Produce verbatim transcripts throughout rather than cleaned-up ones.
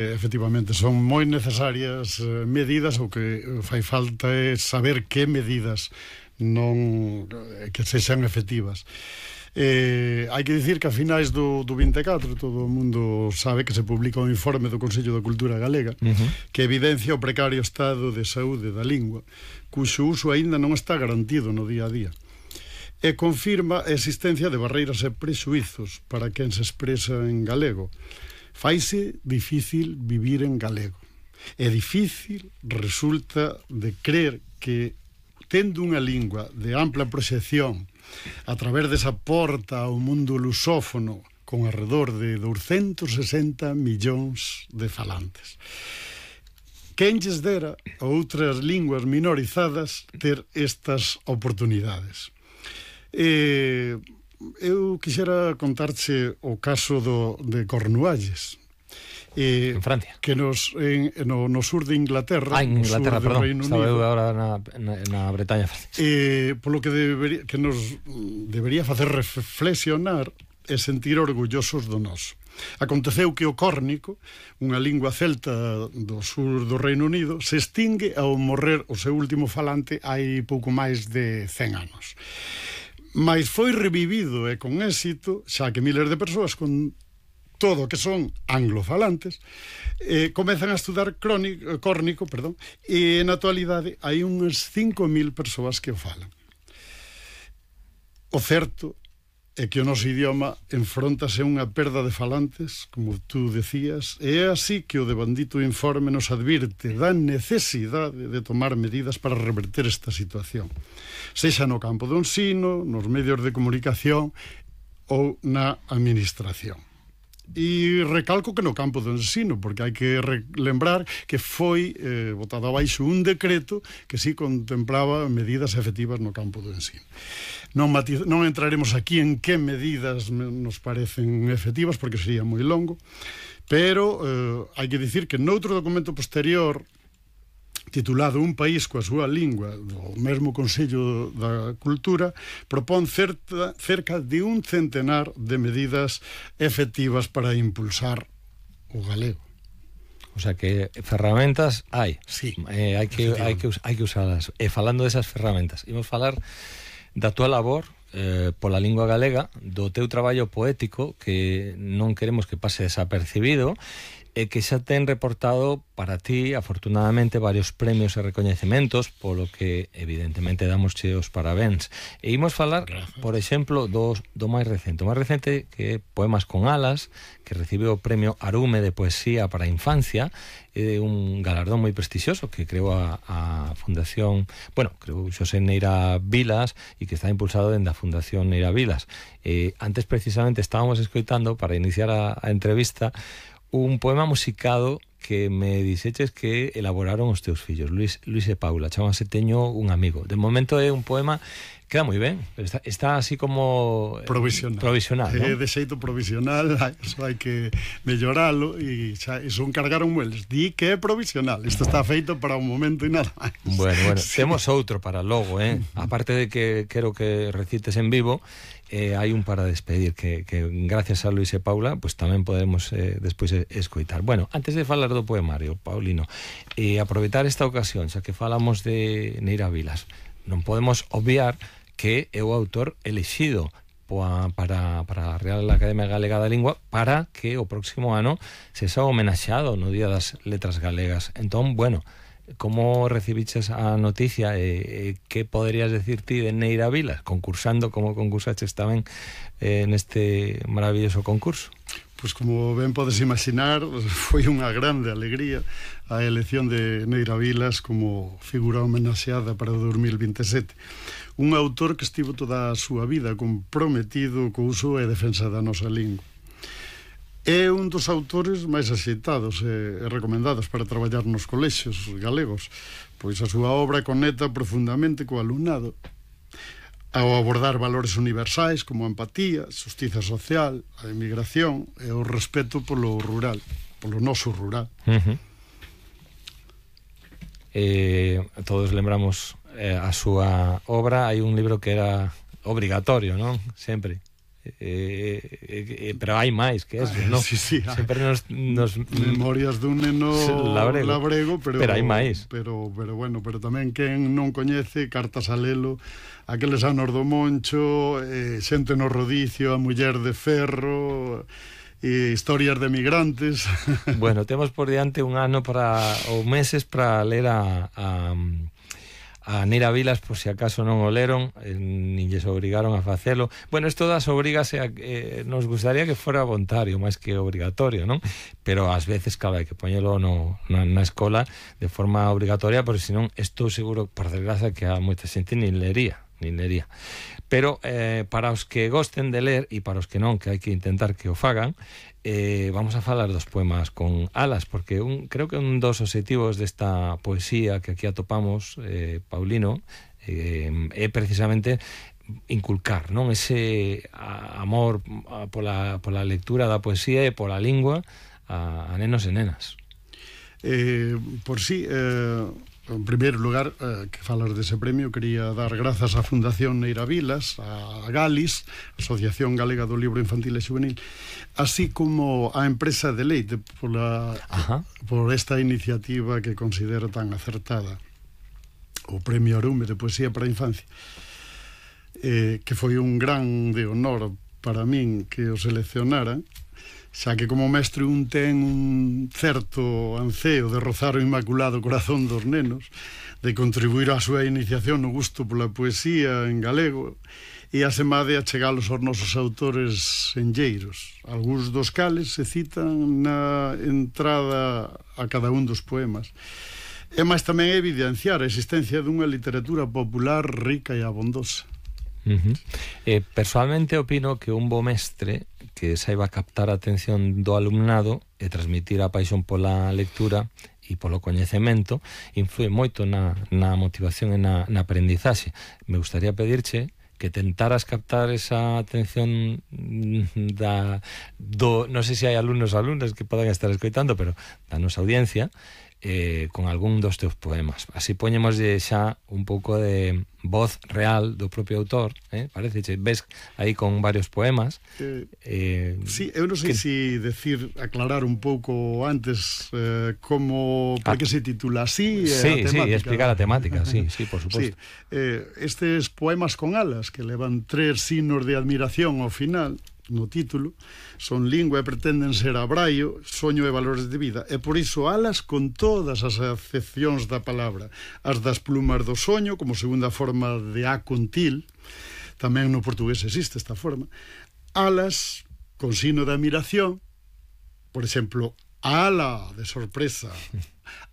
Efectivamente, son moi necesarias medidas, o que fai falta é saber que medidas non que sexan efectivas. Eh, hai que dicir que a finais do, do vinte e catro todo o mundo sabe que se publica un informe do Consello da Cultura Galega uh-huh. que evidencia o precario estado de saúde da lingua, cuxo uso aínda non está garantido no día a día, e confirma a existencia de barreiras e prexuizos para quen se expresa en galego. Faise difícil vivir en galego. É difícil, resulta, de crer que, tendo unha lingua de ampla proxección a través desa porta ao mundo lusófono con alrededor de douscentos e sesenta millóns de falantes, quen lles dera a outras linguas minorizadas ter estas oportunidades. E eu quixera contarche o caso do, de Cornualles, eh, en Francia, que nos en, no, no sur de Inglaterra, ah, en Inglaterra, perdón, Reino estaba Unido, eu agora na, na, na Bretaña francesa, eh, polo que, debería, que nos debería facer reflexionar e sentir orgullosos do noso. Aconteceu que o córnico, unha lingua celta do sur do Reino Unido, se extingue ao morrer o seu último falante hai pouco máis de cen anos. Mais foi revivido e con éxito, xa que miles de persoas con todo que son anglofalantes eh, comezan a estudar crónico, córnico, perdón, e na actualidade hai unhas cinco mil persoas que o falan. O certo é que o noso idioma enfróntase a unha perda de falantes, como tú decías, e é así que o devandito informe nos advirte da necesidade de tomar medidas para reverter esta situación, sexa no campo do ensino, nos medios de comunicación ou na administración. E recalco que no campo do ensino, porque hai que lembrar que foi eh, botado abaixo un decreto que sí contemplaba medidas efectivas no campo do ensino. Non, matiz, non entraremos aquí en que medidas nos parecen efectivas, porque sería moi longo, pero eh, hai que dicir que noutro documento posterior titulado Un país coa súa lingua, do mesmo Consello da Cultura, propón certa, cerca de un centenar de medidas efectivas para impulsar o galego. O sea que ferramentas hai. Sí, eh, hai que hai que hai que usalas. E falando desas ferramentas, imos falar da túa labor eh, pola lingua galega, do teu traballo poético, que non queremos que pase desapercibido, e que xa ten reportado para ti, afortunadamente, varios premios e recoñecementos, polo que evidentemente damos che os parabéns. E imos falar, Gracias. por exemplo, do, do máis recente. O máis recente que Poemas con alas, que recibiu o premio Arume de Poesía para a Infancia, é un galardón moi prestixioso que creou a, a Fundación, bueno, creou Xosé Neira Vilas, e que está impulsado dende a Fundación Neira Vilas. Eh, antes, precisamente, estábamos escoitando, para iniciar a, a entrevista, un poema musicado que me dixeches que elaboraron os teus fillos, Luis, Luis e Paula, chamase Teño un amigo. De momento é un poema, queda moi ben, pero está, está así como provisional, provisional, é ¿no? de xeito provisional, eso hai que melloralo, e xa, eso encargaron eles, di que é provisional, isto está feito para un momento e nada máis. Bueno, bueno, sí. Temos outro para logo, eh? Aparte de que quero que recites en vivo, eh, hai un para despedir que, que gracias a Luis e Paula pues tamén podemos eh, despois escoitar. Bueno, antes de falar do poemario, Paulino, eh, aproveitar esta ocasión, xa que falamos de Neira Vilas, non podemos obviar que é o autor elexido para, para a Real Academia Galega da Lingua para que o próximo ano se xa homenaxeado no Día das Letras Galegas. Entón, bueno, como recibiches a noticia e eh, que poderías decir ti de Neira Vilas, concursando como concursaches tamén eh, neste maravilloso concurso? Pois como ben podes imaginar, foi unha grande alegría a elección de Neira Vilas como figura homenaxeada para o dos mil vinte e sete. Un autor que estivo toda a súa vida comprometido co uso e defensa da nosa lingua. É un dos autores máis axeitados e recomendados para traballar nos colexios galegos, pois a súa obra conecta profundamente co alumnado ao abordar valores universais como a empatía, a xustiza social, a emigración e o respeto polo rural, polo noso rural. Uh-huh. eh, Todos lembramos eh, a súa obra. Hai un libro que era obrigatorio, non? Sempre Eh, eh, eh, pero hai máis que eso, non? Sí, sí, sempre nos, nos Memorias dun neno labrego, labrego pero, pero hai máis. Pero, pero bueno, pero tamén quen non coñece Cartas a Lelo, aqueles anos do Moncho, eh, Xente no Rodicio, A Muller de Ferro, e historias de migrantes. Bueno, temos por diante un ano para ou meses para ler a, a a Neira Vilas, por si acaso non o leron, eh, nin lles obrigaron a facelo. Bueno, isto das obrigas eh, eh, nos gustaría que fora voluntario máis que obrigatorio, non? Pero ás veces, claro, hai que poñelo no, na, na escola de forma obrigatoria, porque senón estou seguro, por desgracia, que a moita xente nin lería, nin lería. Pero eh, para os que gosten de ler e para os que non, que hai que intentar que o fagan, eh, vamos a falar dos poemas con alas, porque un, creo que un dos obxectivos desta poesía que aquí atopamos, eh, Paulino, eh, é precisamente inculcar, non, ese a, amor a, pola, pola lectura da poesía e pola lingua a, a nenos e nenas. Eh, por si, eh, en primeiro lugar, eh, que falas dese premio, quería dar grazas á Fundación Neira Vilas, a Galis, Asociación Galega do Libro Infantil e Juvenil, así como a empresa de Leite pola, por esta iniciativa que considero tan acertada, o Premio Arume de Poesía para a Infancia, eh, que foi un grande honor para min que o seleccionaran, xa que como mestre un ten un certo anseo de rozar o inmaculado corazón dos nenos, de contribuir á súa iniciación no gusto pola poesía en galego e asemade a chegalos aos nosos autores enlleiros, algúns dos cales se citan na entrada a cada un dos poemas. E máis tamén evidenciar a existencia dunha literatura popular rica e abondosa. Uh-huh. Eh, personalmente opino que un bo mestre que saiba captar a atención do alumnado e transmitir a paixón pola lectura e polo coñecemento influe moito na, na motivación e na, na aprendizaxe. Me gustaría pedirche que tentaras captar esa atención da do, non sei se hai alumnos ou alumnas que podan estar escoitando, pero da nosa audiencia, eh, con algún dos teus poemas. Así poñemos xa un pouco de voz real do propio autor, eh? Parece, ves aí con varios poemas. Eh, eh, sí, eu non sei que... si decir, aclarar un pouco antes eh, como, por que se titula así, sí, a temática. Sí, explicar a temática, sí, sí, por suposto. Sí, eh, estes poemas con alas que levan tres signos de admiración ao final no título, son lingua e pretenden ser abraio, soño e valores de vida, e por iso alas con todas as acepcións da palabra, as das plumas do soño como segunda forma de a con til, tamén no portugués existe esta forma, alas con signo de admiración, por exemplo, ala de sorpresa,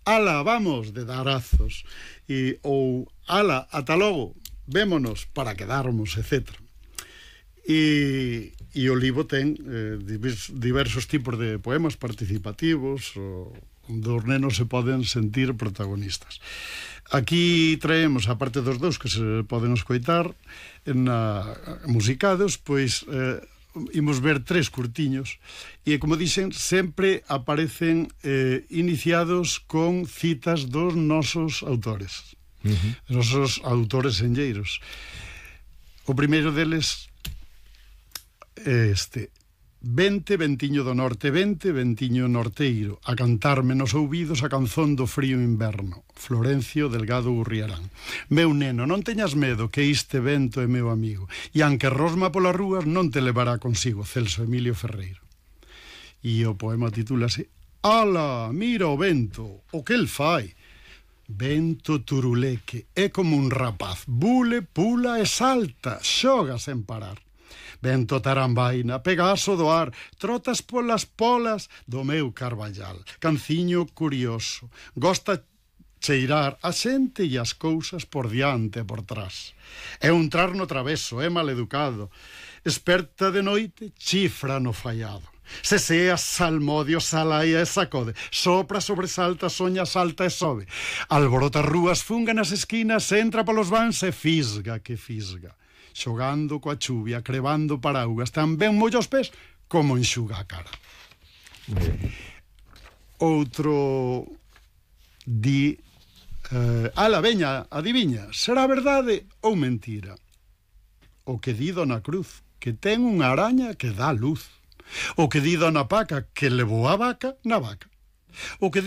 ala vamos de darazos, e, ou ala ata logo, vémonos para quedarmos, etcétera. E, e o libro ten eh, diversos tipos de poemas participativos o, onde os nenos se poden sentir protagonistas. Aquí traemos, a parte dos dous que se poden escoitar na, musicados, pois eh, imos ver tres curtiños e, como dixen, sempre aparecen eh, iniciados con citas dos nosos autores, uh-huh. nosos autores enlleiros. O primeiro deles este: vente, ventiño do norte, vente, ventiño norteiro, a cantarme nos ouvidos a canzón do frío inverno. Florencio Delgado Urriarán. Meu neno, non teñas medo, que este vento é meu amigo, e anque rosma polas rúas non te levará consigo. Celso Emilio Ferreiro. E o poema titúlase Ala, mira o vento, o que el fai. Vento turuleque, é como un rapaz, bule, pula e salta, xoga sen parar. Vento tarambaina, pegaso do ar, trotas polas polas do meu carballal. Canciño curioso, gosta cheirar a xente e as cousas por diante e por trás. É un trasno traveso, é maleducado, esperta de noite, chifra no fallado. Se sea salmodio, salaia e sacode, sopra, sobresalta, soña, salta e sobe. Alborota rúas, funga nas esquinas, entra polos vans e fisga que fisga. Xogando coa chuvia, crevando paraugas, tamén molla os pés como enxuga a cara. Outro di eh, ala, veña, adiviña, será verdade ou mentira? O que di Dona Cruz, que ten unha araña que dá luz. O que di Dona Paca que levou a vaca na vaca. O que